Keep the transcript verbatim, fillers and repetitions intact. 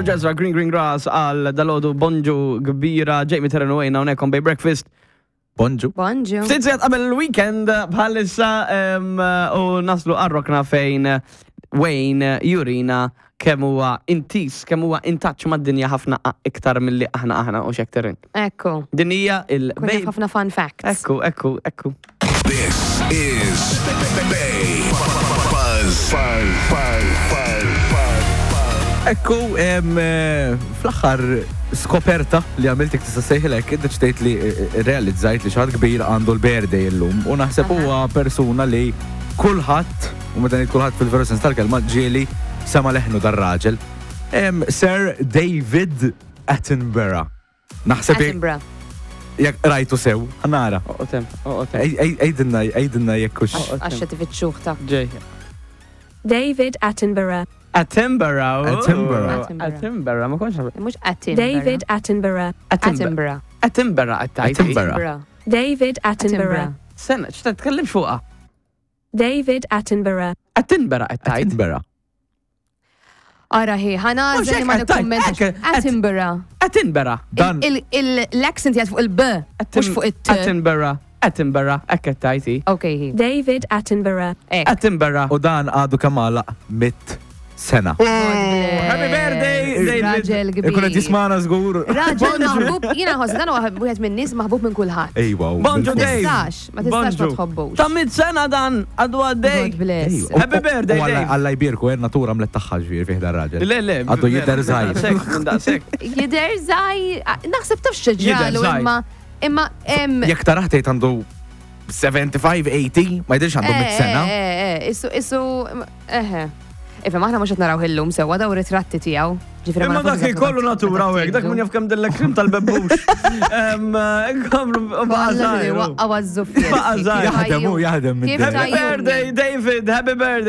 Ġezra Green Green Grass għal dalgħodu, bonġu kbira, Jamie Terren u għajna hawnhekk on Bay Breakfast. Bonġu. Bonġu. Ftit sigħat qabel il-weekend bħalissa em, u naslu għar-rokna fejn Wayne jurina kemm huwa intis, kemm huwa in touch mad-dinja ħafna iktar milli aħna aħna u xekterin. Ekku. Din hija il Kun jaf ħafna fun facts. Ekku, ekku, ekku. This is Bay Buzz. Buzz. Buzz. Buzz. Ekku, em, eh, fl-aħħar skoperta li għamiltek tista' sejħilek, iddeċidejt li eh, eh, realizzajt li xi ħadd kbir għandu l-birthday illum u naħseb huwa persuna li kulħadd, u meta ngħid kulħadd fil-veru sens tal-kelma, ġieli sema leħnu dar-raġel. Em, Sir David Attenborough. Naħseb jekk- Attenborough. jekk rajtu sew, nara. Oqgħod, oqgħod. Għidilna, għidilna jekk hux. Għax qed ifittxuh ta' Ġej. David Attenborough. Attenborough. Attenborough. Attenborough, ma kontx naf. Mhux Attenborough. David Attenborough. Attenborough. Attenborough għattajt. Attenborough. David Attenborough. Sena, x'ta tkellem fuqha? David Attenborough. Attenborough għattajt. Attenborough. Ara hi, ħana Mhux li ma hekk għattajt, nikkommentax. hekk, at- Attenborough. Attenborough. Dan Il- il- L-accent jgħid fuq il-B, mhux fuq it-T. Attenborough. Attenborough, hekk għattajti. Ok, hi. David Attenborough. Ek. Attenborough. U dan għadu kemm għalaq mitt sena. Happy birthday, David. Raġel kbir. Ikun qed jismana żgur. Raġel maħbub, jiena nħoss dan huwa wieħed minn nies maħbub minn kulħadd. Ejwa. u Bonġu, bil-fors. Dave. Tistax, ma tistax ma Bonġu. tħobbux. Ta' mitt sena dan, għadu għaddej. God bless. Ejwa. Happy birthday, U Alla- Dave. Alla jbierku, eh, natura mlet tagħha ġifieri fih dar raġel. Le, le. Għadu jidher żgħir. Daqsek, minn daqsek. Jidher żgħir, naħseb taf Jidher x'ġralu żgħir. imma imma em Jekk taraħ tgħid għandu sebgħa u ħamsin, tmenin, ma jidhirx għandu mitt sena. Eh, eh, eh, issu issu eħe. Ifhem, aħna mhux qed naraw illum sewwa daw ritratti tiegħu. Ġifieri ma Imma nafux dak eżatt kollu meta natura u hekk, dak tieħdu. min jaf kemm dillek krim tal-bebbux. Em, Inkomplu baqa' Kollha żgħir. waqqa' għaż-żuffiet. Baqa' żgħir. Jaħdem u jaħdem minn Kif dejjem. Happy tajjuni. birthday, David, happy birthday.